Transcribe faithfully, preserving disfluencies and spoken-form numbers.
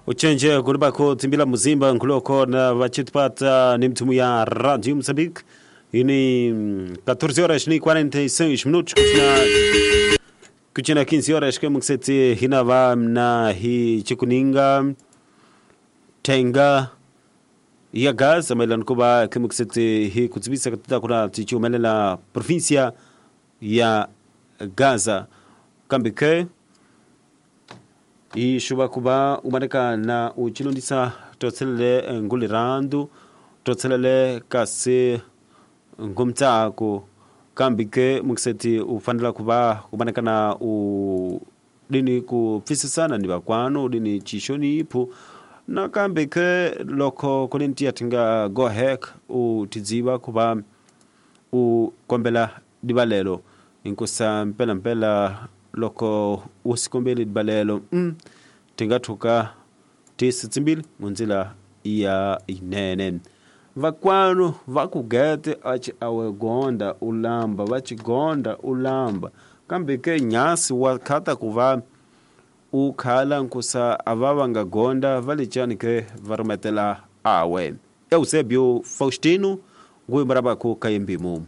Uchenje kulibako timbila muzimba nkuloko na vachitipata ni mtumu ya Radio Mozambique. Ini catorze horas e quarenta e seis minutos kuchina kuchina quinze horas que mukseti hinava na hi chikuninga tenga ya Gaza mailan kuba kimukseti hi kutsibisa katita kuna tichumelela provincia ya Gaza kambike ishuba kuba umaneka na uchilundisa totselele ngulirandu totselele kasi ngumtsako kambike mukseti ufanela kuba umaneka na u dini kupfisisana ni bakwano dini chishoni ipo na kambike loko kulintia tinga go hek utidziba kuba u kombela dibalelo inkusa mpela mpela loko usikombele dibalelo mm, tingathuka tisi tsimbili munzila ya inene vakwano vakugete achi awe gonda ulamba vachigonda ulamba kambe ke nyasi wakhata kuva ukhala nkusa ava nga gonda valichani ke varumetela awe Eusebio Faustino nguimbarabako kayembimu.